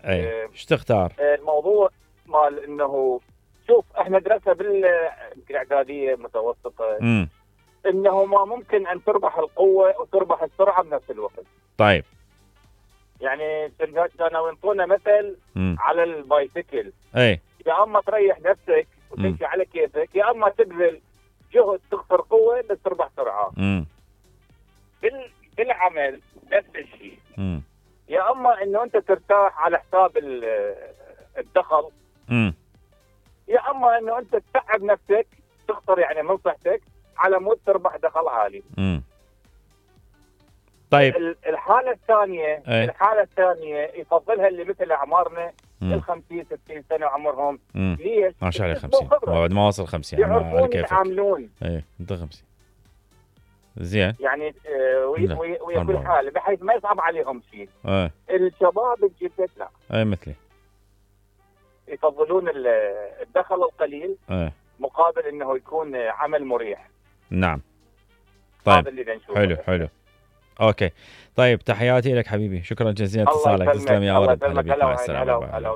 اي ايش تختار؟ الموضوع مال انه شوف احنا درسنا بالاعداديه متوسطه انه ما ممكن ان تربح القوه وتربح السرعه بنفس الوقت. طيب يعني كانوا ينطونا مثل على البايسكل، اي يا اما تريح نفسك وتمشي على كيفك، يا اما تبذل جهد تخسر قوه بس تربح سرعه. بالعمل نفس الشيء. يا اما انه انت ترتاح على حساب الدخل، يا اما انه انت تتعب نفسك تخسر يعني من صحتك على مود تربح دخل عالي. طيب الحاله الثانيه يفضلها اللي مثل اعمارنا ال 50 60 سنه عمرهم. ليش؟ ما شاء الله 50 بعد ما وصل 50 يعني على كيفك يتعاملون. اي انت 50 زين يعني ويا كل حال بحيث ما يصعب عليهم شيء. الشباب الجدد لا مثلي يفضلون الدخل القليل مقابل انه يكون عمل مريح. نعم. طيب حلو اوكي. طيب تحياتي لك حبيبي، شكرا جزيلا اتصالك، تسلم يا ولد. مع السلامه.